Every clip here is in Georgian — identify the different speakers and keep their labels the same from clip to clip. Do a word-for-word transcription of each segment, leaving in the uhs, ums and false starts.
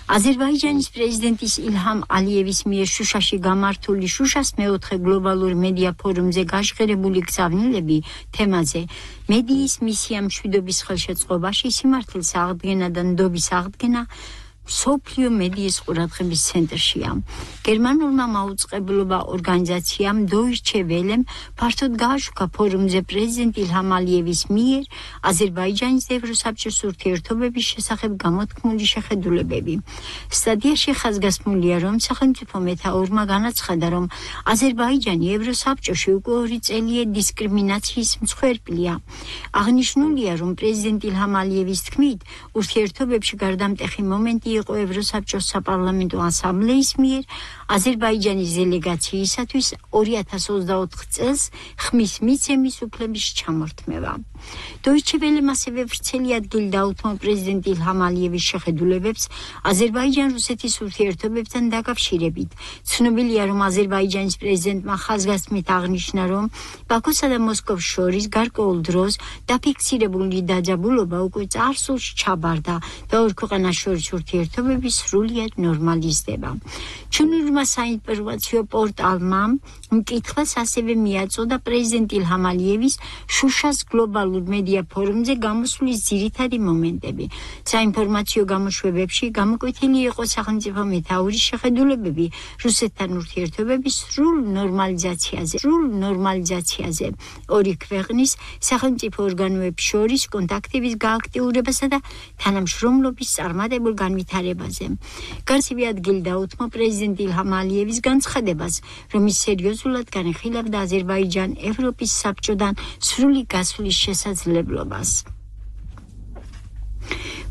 Speaker 1: აზერბაიჯანის პრეზიდენტის ილჰამ ალიევის მიერ შუშაში გამართული შუშას მეოთხე გლობალურ მედია ფორუმზე გაშღერებული გზავნილები თემაზე მედიის მისია მშვიდობის ხელშეწყობაში სიმართლის აღდგენა და ნდობის აღდგენა სოფლიო მედიის ყურადღების ცენტრშია. გერმანულმა მაუწყებლობა ორგანიზაციამ Deutsche Welle ფართოდ გააშუქა ფორუმზე პრეზიდენტ ილჰამ ალიევის მიერ აზერბაიჯანის ევროსაბჭოს ურთიერთობების შესახებ გამოთქმული შეხედულებები. სტატიაში ხაზგასმულია, რომ სახელმწიფო მეთაურმა განაცხადა, რომ აზერბაიჯანი ევროსაბჭოში უკვე ორი წელია დისკრიმინაციის მსხვერპლია. აღნიშნულია, რომ პრეზიდენტ ილჰამ ალიევის თქმით, ურთიერთობებში გარდამტეხი მომენტი იყო ევროსაბჭოს საპარლამენტო ასამბლეის მიერ აზერბაიჯანის დელეგაციისათვის ორი ათას ოცდაოთხ წელს ხმის მიცემის უფლების ჩამორთმევა. Deutsche Welle-მ ასევე ვრცელი ადგილი დაუთმო პრეზიდენტ ილჰამ ალიევის შეხედულებებს აზერბაიჯან-რუსეთის ურთიერთობებთან დაკავშირებით. ცნობილია, რომ აზერბაიჯანის პრეზიდენტმა ხაზგასმით აღნიშნა, რომ ბაქოსა და მოსკოვს შორის გარკვეულ დროს დაფიქსირებული დაძაბულობა უკვე წარსულში ჩაბარდა და ორ ქვეყანას შორის ურთიერთობების სრულიად ნორმალიზდება. ჩინურმა საინფორმაციო პორტალმა მკითხვას ასევე მიაწოდა პრეზიდენტ ილჰამ ალიევის შუშას გლობალურ მედია ფორუმზე გამოსვლის ძირითადი მომენტები. საინფორმაციო გამოშვებებში გამოკვეთილი იყო სახელმწიფო მეთაურის შეხედულებები რუსეთთან ურთიერთობების სრულ ნორმალიზაციაზე, სრულ ნორმალიზაციაზე, ორი ქვეყნის სახელმწიფო ორგანოებს შორის კონტაქტების გააქტიურებასა და თანამშრომლობის წარმატებულ განვითარებაზე. განსივი ადგილი დაუთმო პრეზიდენტ ილჰამ ალიევის განცხადებას, რომ ის სერიოზულად განიხილავდა აზერბაიჯან ევროპის საბჭოდან სრული გასვლის შესაძლებლობას.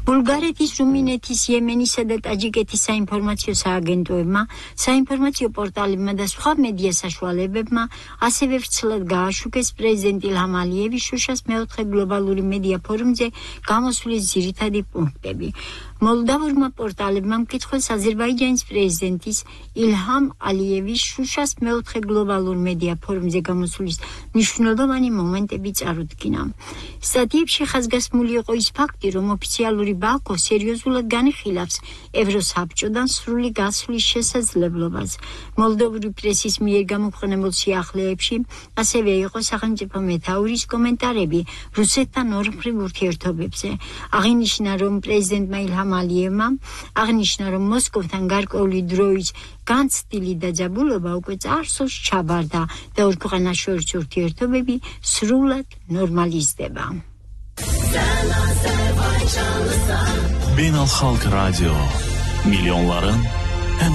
Speaker 1: ბულგარეთის, რუმინეთის, იემენისა და ტაჯიკეთის საინფორმაციო სააგენტოებმა, საინფორმაციო პორტალებმა და სხვა მედია საშუალებებმა ასევე ვრცლად გააშუქეს პრეზიდენტ ილჰამ ალიევის შუშას მეოთხე გლობალური მედია ფორუმზე გამოსვლის ძირითადი პუნქტები. მოლდავურმა პორტალებმა მკითხველს აზერბაიჯანის პრეზიდენტის ილჰამ ალიევის შუშას მეოთხე გლობალურ მედია ფორუმზე გამოსვლის მნიშვნელოვანი მომენტები წარუდგინა. სტატიებში ხაზგასმული იყო ის ფაქტი, რომ ოფიციალური ბაქო სერიოზულად განიხილავს ევროსაბჭოდან სრული გასვლის შესაძლებლობას. მოლდოვური პრესის მიერ გამოქვეყნებულ სიახლეებში ასევე იყო სახელმწიფო მეთაურის კომენტარები რუსეთთან ორმხრივ ურთიერთობებზე. აღინიშნა, რომ პრეზიდენტმა ილჰამ ალიევმა აღნიშნა, რომ მოსკოვთან გარკვეული დროის განცდილი დაძაბულობა უკვე წარსულში ჩაბარდა და ორ ქვეყანას შორის ურთიერთობები სრულად ნორმალიზდება.
Speaker 2: Beynel Halk Radio milyonların